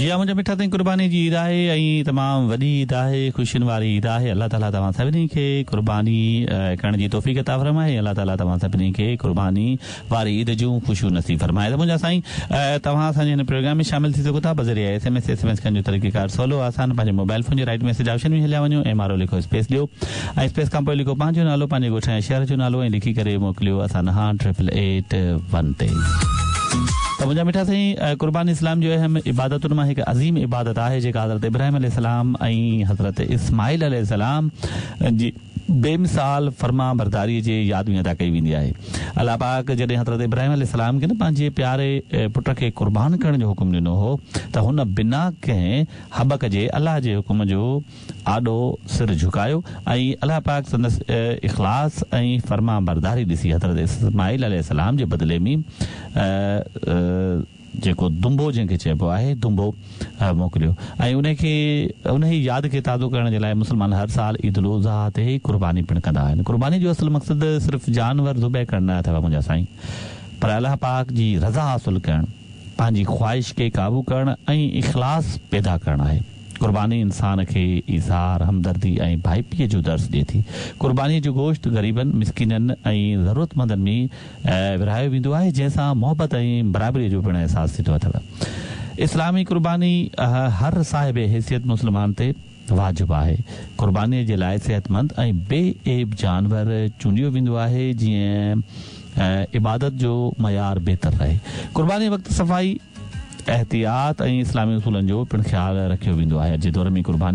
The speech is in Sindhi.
جي ها منهنجا مٺا سائين قرباني جي عيد آهي ۽ تمام وڏي عيد آهي خوشين واري عيد آهي الله تعالي توهان سڀني کي قرباني ڪرڻ جي توفيق عطا فرمائي الله تعالي توهان سڀني کي قرباني واري عيد جون خوشيون نصيب فرمائي ته منهنجا سائين توهان اسان جي هن پروگرام ۾ شامل ٿي سگهو ٿا بذريعي S M S S M S ڪرڻ جو طريقه ڪار سولو آسان پنهنجي موبائل فون جي رائيٽ ميسيج آپشن ۾ هليا وڃو ايم آر او لکو اسپيس ڏيو ۽ اسپيس کان پوء لکو پنهنجو نالو پنهنجي ڳوٺ ۽ شهر جو نالو ۽ لکي ڪري موڪليو اسان ڏانهن ٽرپل ايٽ ون تي. ته منهنجا مٺا سائين قرباني اسلام جي اهم عبادتن مان هڪ عظيم عبادت آهي جيڪا حضرت ابراهيم عليه السلام ۽ حضرت اسماعيل عليه السلام جي بي مثال فرمانبرداري جي ياد ۾ ادا ڪئي ويندي آهي. الله پاڪ جڏهن حضرت ابراهيم عليه السلام کي نه پنهنجي پياري پٽ کي قربان ڪرڻ جو حڪم ڏنو هو ته هن بنا ڪنهن هٻڪ جي الله جي حڪم جو آڏو سر جهڪايو ۽ الله پاڪ سندس اخلاص ۽ فرمانبرداري ڏسي حضرت اسماعيل عليه السلام جي بدلي ۾ جيڪو دنبو جنهن کي چئبو آهي دنبو موڪليو ۽ انهي کي انهي ياد کي تازو ڪرڻ جي لاء مسلمان هر سال عيد الاضحيٰ تي قرباني پڻ ڪندا آهن قرباني جو اصل مقصد صرف جانور ذبح ڪرڻ نه اٿو منهنجا سائين پر الله پاڪ جي رضا حاصل ڪرڻ پنهنجي خواهش کي قابو ڪرڻ ۽ اخلاص پيدا ڪرڻ آهي. قرباني انسان کي ايثار، همدردي ۽ ڀائپيء جو درس ڏئي ٿي. قربانيء جو گوشت غريبن، مسڪينن ۽ ضرورتمندن ۾ ورهايو ويندو آهي، جنهن سان محبت ۽ برابريء جو پڻ احساس ٿيندو اٿو. اسلامي قرباني هر صاحب حيثيت مسلمان تي واجب آهي. قربانيء جي لاء صحتمند ۽ بي عيب جانور چونڊيو ويندو آهي، جيئن عبادت جو معيار بهتر رهي. قربانيء وقت صفائي، احتياط ۽ اسلامي اصولن جو پڻ خيال رکيو ويندو آهي. اڄ جي دور ۾ قرباني.